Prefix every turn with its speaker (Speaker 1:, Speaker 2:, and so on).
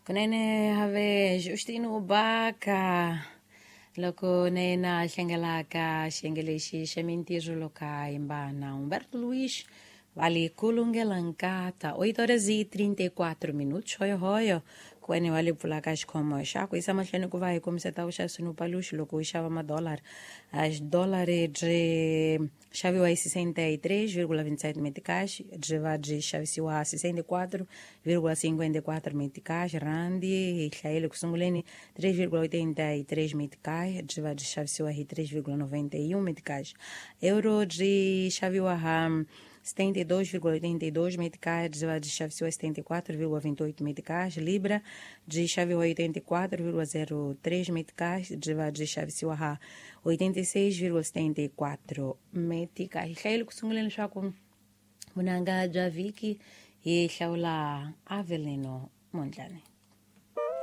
Speaker 1: Kunene have Justino Baka loko na yena a hlengelaka xiyenge lexi xa mintirho loko a yimba na Humberto Luiz vale kulungela nkata 8 horas e 34 minutos. Hoyohoyo kwene wa le pfulaka xikhomo xa ku yisa mahlweni ku va hi kombiseta vuxavisi no paluxi loko u xava madollar, a xidollar byi xaviwa hi 63,27 meticais, byi va byi xavisiwa 64,54 meticais. Randi hi hlayile ku sunguleni 3,83 meticais, byi va byi xavisiwa hi 3,91 meticais. Euro byi xaviwa ha 72,82 meticais, byi va byi xavisiwa 74,28 meticais. Libra byi xaviwa 84,03 meticais, byi va byi xavisiwa ha 86,74 meticais. Hi hlayile ku sunguleni leswaku vunanga bya vhiki hi hlawula Avelino Mondlane.